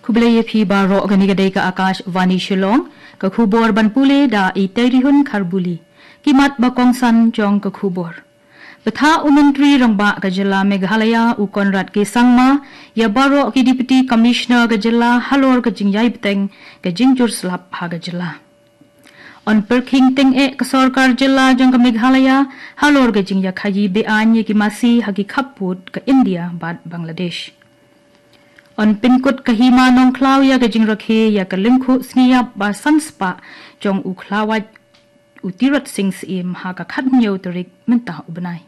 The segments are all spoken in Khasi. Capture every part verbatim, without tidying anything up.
Khublei ïa phi baroh, kane ka dei ka Akashvani Shillong, ka khubor ban pule da i Tairihun Kharbuli. Ki mat ba kongsan jong ka khubor. Bthah u Myntri Rangbah ka jylla Meghalaya u Conrad K Sangma ïa baroh ki Deputy Commissioner ka jylla halor ka jingïai bteng ka jingjur slap ha ka jylla. Yn pyrkhing tyngeh ka sorkar jylla jong ka Meghalaya halor ka jingïakhaïi beaiñ ïa ki masi ha ki khappud ka India bad Bangladesh. Yn pynkut ka Hima Nongkhlaw ïa ka jingrakhe ïa ka lyngkhuh sngi ïap ba san spah jong u khlawait u Tirot Sing Syiem ha ka khathynñiew tarik mynta u bnai.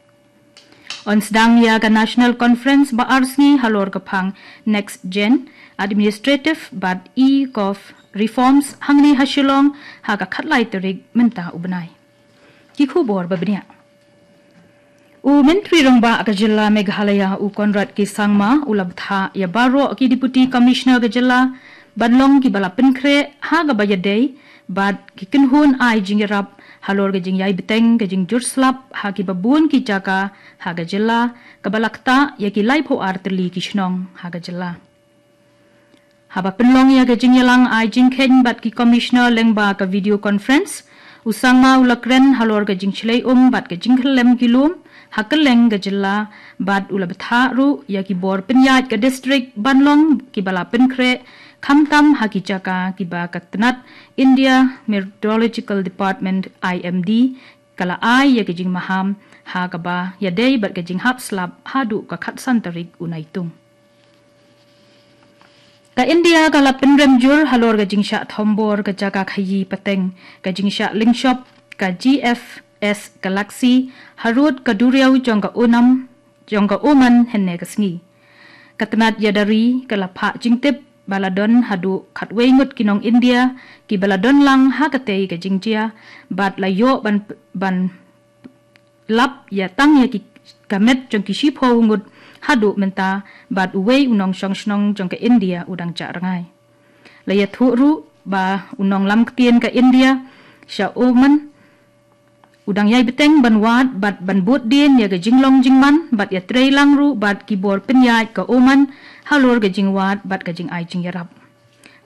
Yn sdang ïa ka National Conference ba ar sngi halor ka phang Next Gen Administrative bad e-Gov Reforms hangne ha Shillong ha ka khatlai tarik mynta u bnai. Ki khubor ba bniah. U Myntri Rangbah ka jylla Meghalaya u Conrad K Sangma u la bthah ïa baroh ki Deputy Commissioner ka jylla ban long kiba la pynkhreh ha kaba ïadei bad ki kynhun ai jingïarap halor ka jingïai bteng ka jingjur slap ha kiba bun ki jaka ha ka jylla, kaba la ktah ïa ki laiphew ar tylli ki shnong ha ka jylla. Haba pynlong ïa ka jingïalang ai jingkheiñ bad ki Commissioner lyngba ka video conference, u Sangma u la kren halor ka jingshlei um bad ka jingkhyllem ki lum ha kylleng ka jylla, bad u la bthah ruh ïa ki bor pynïaid ka district ban long kiba la pynkhreh, khamtam ha ki jaka kiba ka tnat India Meteorological Department, I M D, ka la ai ïa ka jingmaham ha kaba ïadei bad ka jinghap slap haduh ka khatsan tarik u Naitung. Ka India ka la pynrem jur halor ka jingshah thombor ka jaka khaïi pateng, ka jingshah lyngshop ka G F S Galaxy harud ka duriaw jong ka Onam jong ka Oman hynne ka sngi. Ka tnat ïada ri ka la phah jingtip ba la don haduh khatwei ngut ki nong India kiba la don lang ha katei ka jingjia, bad la ïoh ban ban lap ïa tang ïa ki ka met jong ki shiphew ngut haduh mynta, bad uwei u nongshong shnong jong ka India u dang jah rngai. La ïathuh ruh ba u nonglam ktien ka India sha Oman u dang ïai bteng ban wad bad ban bud dien ïa ka jinglong jingman bad ïatrei lang ruh bad ki bor pynïaid ka Oman halor ka jingwad bad ka jingai jingïarap.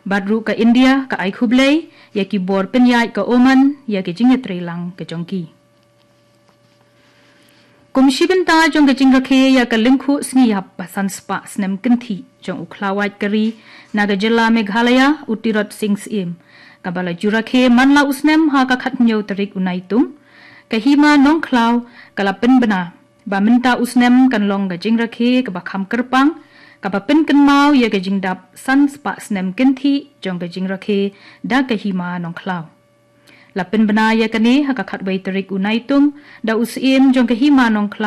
Bad ruh ka India ka ai khublei ïa ki bor pynïaid ka Oman ïa ka jingïatrei lang ka jong ki. Kum shi bynta jong ka jingrakhe ïa ka lyngkhuh sngi ïap ba san spah snem kynthih jong u khlawait ka ri na ka jylla Meghalaya u Tirot Sing Syiem, kaba la ju rakhe man la u snem ha ka khathynñiew tarik u Naitung, ka Hima Nongkhlaw ka la pynbna ba mynta u snem kan long ka jingrakhe kaba kham kyrpang, kaba pynkynmaw ïa ka jingdap san spah snem kynthih jong ka jingrakhe da ka Hima Nongkhlaw. La pynbna ïa kane ha ka khatwei tarik u Naitung da u Syiem jong ka Hima Nongkhlaw